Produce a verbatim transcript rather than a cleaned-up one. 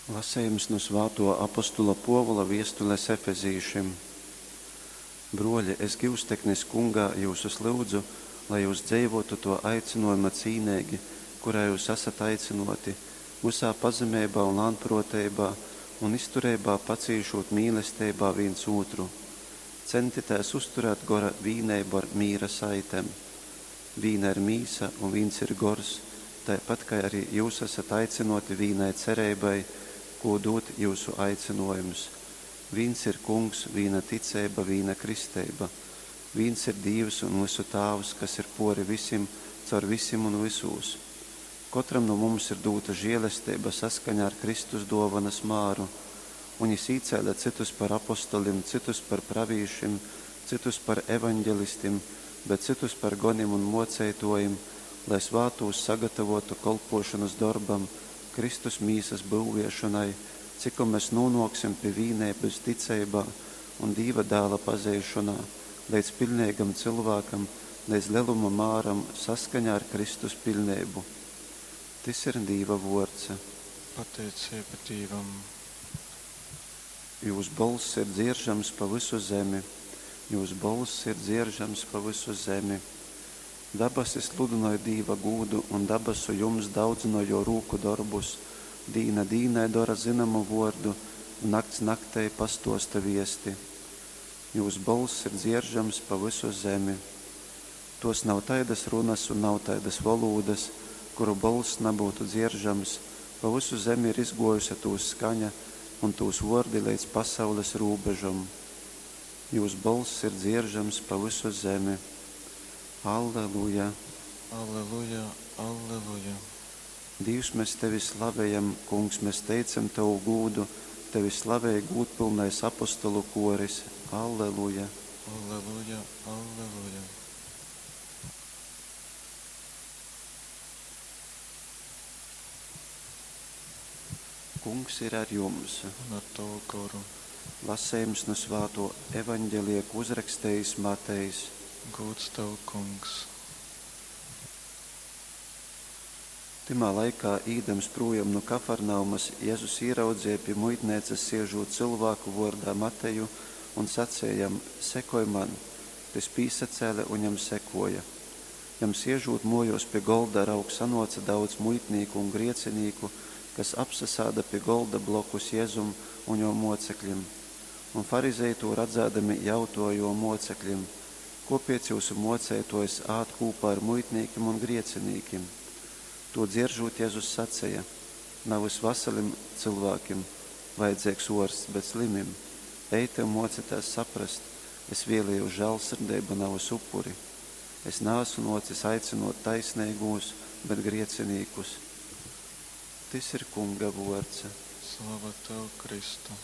Lasejums nu svātuo apostula Puovula viestules Efezīšim. Bruoļi, es gyusteknis Kungā jyusus lyudzu, lai jyus dzeivuotu tuo aicynuojuma cīneigi, kurā jyus asat aicynuoti, vysā pazemeibā un lānpruoteibā, un iztureibā pacīšūt mīlesteibā vīns ūtru. Centitēs uzturēt gora vīneibu ar mīra saitem. Vīna ir mīsa un vīns ir gors, taipat kai arī jyus asat aicynuoti vīnai cereibai, kū dūd jyusu aicynuojums. Vīns ir Kungs, vīna ticeiba, vīna kristeiba. Vīns ir Dīvs un vysu Tāvs, kas ir puori visim, caur visim un vysūs. Kotram nu mums ir dūta žielesteiba saskaņā ar Kristus duovanas māru. Un jis īcēle cytus par apostolim, cytus par pravīšim, cytus par evaņgelistim, bet cytus par gonim un muoceituojim, lai svātūs sagatavotu kolpuošonys dorbam, Kristus mīsas byuviešonai, cikom mes nūnuoksim pi vīneibys ticeibā un Dīva Dāla pazeišonā, leidz piļneigam cylvākam, leidz leluma māram, saskaņā ar Kristus piļneibu. Tys ir Dīva vuords. Pateiceiba Dīvam. Jūs bolss ir dzieržams pa vysu zemi, jūs bolss ir dzieržams pa vysu zemi. Dabasi sludynoj Dīva gūdu, un dabasu jumts daudzynoj jō rūku dorbus. Dīna dīnai dora zynomu vōrdu, un nakts naktei pastōsta viesti. Jūs bolss ir dzieržams pa vysu zemi. Tōs nav taidas runas un nav taidas volūdas, kuru bolss nabyutu dzieržams, pa vysu zemi ir izgōjuse tūs skaņa un tūs vōrdi leidz pasaules rūbežom. Jūs bolss ir dzieržams pa vysu zemi. Alleluja! Alleluja, alleluja. Dīvs, mes Tevi slavejam, Kungs, mes teicam Tovu gūdu, Tevi slavej gūdpylnais apostolu koris. Alleluja! Alleluja, alleluja. Kungs ir ar jums. Un ar tavu goru. Lasejums nu svātuo evaņgelija, ko uzrakstejis Matejs. Gūds tev, Kungs. Tymā laikā, īdams prūjom nu Kafarnaumas, Jezus īraudzeja pi muitneicas siežūt cylvāku vuordā Mateju un saceja jam: Sekoj man! Tys pīsacēle un jam sekuoja. Jam siežūt muojuos pi golda, raug, sanuoce daudz muitnīku un griecinīku, kas apsasāda pi golda blokus Jezum un juo muocekļim. Un farizeji tū radzādami jautuoja juo muocekļim: Kuopiec jyusu muoceituojs ād kūpā ar muitnīkim un griecinīkim? Tū dzieržūt, Jezus saceja: Navys vasalim cylvākim vajadzeigs uorsts, bet slimim. Ejte un muocitēs saprast: es vēlējos žālsirdeibu, navys upuri. Es naasu nuocis aicynuot taisneigūs, bet griecinīkus. Tys ir Kunga vuords. Slava tev, Kristu.